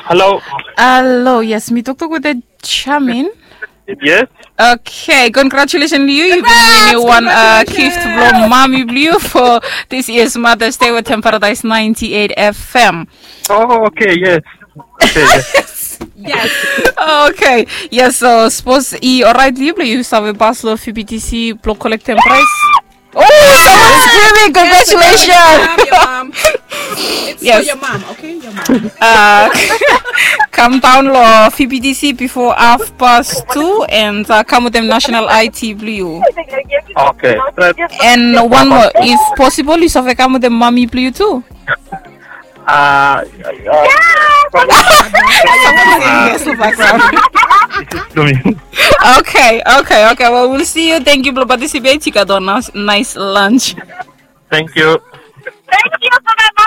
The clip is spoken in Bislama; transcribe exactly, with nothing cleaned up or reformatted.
Hello. Hello, yes, mi toktok wetem Chamin. Yes. Okay, congratulations to you. You been winning one uh, gift from mommy blue for this year's Mother's Day with Paradise ninety-eight F M. Oh, okay, yes. Okay, yes. Yes. Okay. Yes, so suppose i alright you, you save pass lo F B T C block collecting price. Oh, someone screaming! Congratulations! Yes, your mom, your mom. It's for your mom, okay? Your mom. Uh, come down lo F B T C before half past two and uh, come with them national I T blue. Okay. And one more, if possible, you save come with them mommy blue too. Uh, uh, Someone saying yes in the background. Okay, okay, okay. Well, we'll see you. Thank you for participating. Nice lunch. Thank you.